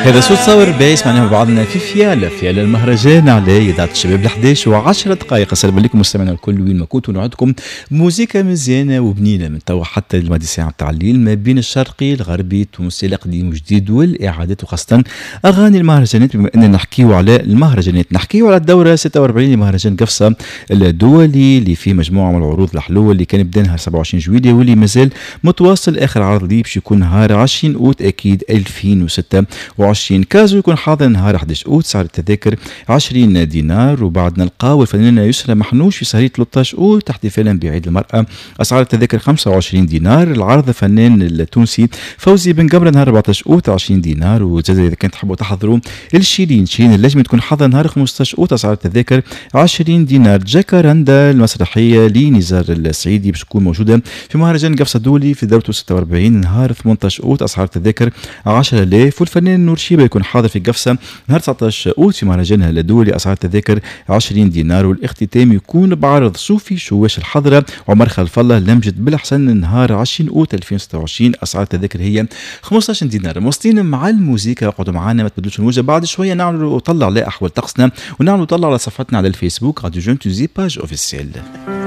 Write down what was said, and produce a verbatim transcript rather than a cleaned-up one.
هذا صوت صور بايس، معناها بعضنا في فياله فياله المهرجان على اذاعة الشباب احداش وعشرة دقائق. السلام عليكم مستمعينا الكل وين ما كنتوا، نوعدكم موزيكا مزيانه وبنينه من توا حتى الماضي ساعة تاع الليل، ما بين الشرقي الغربي التونسي القديم والجديد والاعادات، وخاصة اغاني المهرجانات. بما اننا نحكيو على المهرجانات، نحكيو على الدورة ستة وأربعين لمهرجان قفصه الدولي اللي فيه مجموعة من العروض الحلوة اللي كان بدا نهار سبعة وعشرين جويلية واللي مازال متواصل. اخر عرض ليه باش يكون نهار عشرين اوت اكيد ألفين وستة وعشرين. كازو يكون حاضر نهار أحد عشر اوت، سعر التذاكر عشرين دينار. وبعد نلقاو الفنانة يسرى محنوش في سهرية ثلاثة عشر اوت احتفالا بعيد المرأة، اسعار التذاكر خمسة وعشرين دينار. العرض الفنان التونسي فوزي بن قمرة نهار أربعة عشر اوت عشرين دينار. وزاد اذا كان تحبوا تحضروا الشيرين، شيرين اللجمي تكون حاضر نهار خمسة عشر اوت، اسعار التذاكر عشرين دينار. جاكاراندا المسرحية لنزار السعيدي باش تكون موجودة في مهرجان قفصه الدولي في دورته ستة وأربعين نهار ثمانية عشر اوت، اسعار التذاكر عشرة آلاف. والفنان نور شيبة يكون حاضر في قفصه نهار تسعة عشر اوت في مهرجانها الدولي، اسعار التذاكر عشرين دينار. والاختتام يكون بعرض صوفي شواش الحضرة عمر خلف الله لمجد بالحسن نهار عشرين اوت ألفين وستة وعشرين، اسعار التذاكر هي خمسة عشر دينار. مواصلين مع الموزيكا، اقعدوا معنا ما تبدلوش الموجه. بعد شوية نعملوا طلة على احوال طقسنا ونعملوا طلة على صفحتنا على الفيسبوك راديو Jeunes Tunisie page officielle.